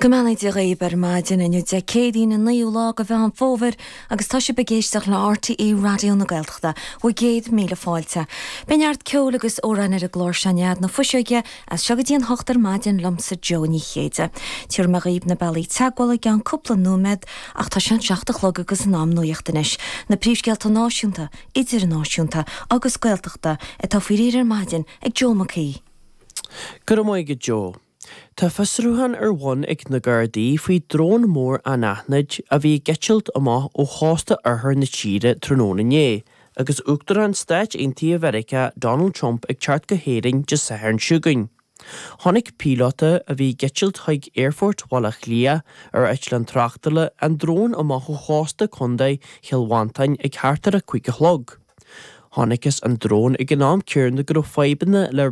Go mbeannaí Dia dhaoib ar maidin inniu Dé Céadaoin an 9ú lá de Mheán Fómhair agus tá sibh ag éisteacht le RTÉ Raidió na Gaeltachta. Bhur gcéad míle fáilte. Beidh neart ceoil agus amhráin ar an gclár seo in nead na fuiseoige as seo go dtí an hocht ar maidin liomsa Joe Ní Chéide. Tabharfaidh mé dhaoib na bealaí teagmhála i gceann cúpla nóiméad ach tá sé an seacht a chlog agus in am nuaíocht anois. Na príomhscéalta náisiúnta, idirnáisiúnta agus Gaeltachta atá faoi réir ar maidin ag Joe Mac Aoidh. Go raibh maith agat Joe. Tá fiosrúchán ar bhun ag na Gardaí faoi drón mór anaithnid a bhí ag eitilt amach ó chósta oirthear na tíre tráthnóna inné agus Uachtarán Stáit Aontaithe Mheiriceá Donald Trump ag teacht go hÉirinn Dé Sathairn seo chugainn. Chonaic píolóta a bhí ag eitilt chuig Aerfort Bhaile Átha Cliath ar eitleán tráchtála an drón amach ó chósta Chontae Chill Mhantáin ag thart ar a 5 a chlog. Chonacthas an drón ag an am céanna go raibh fadhbanna le.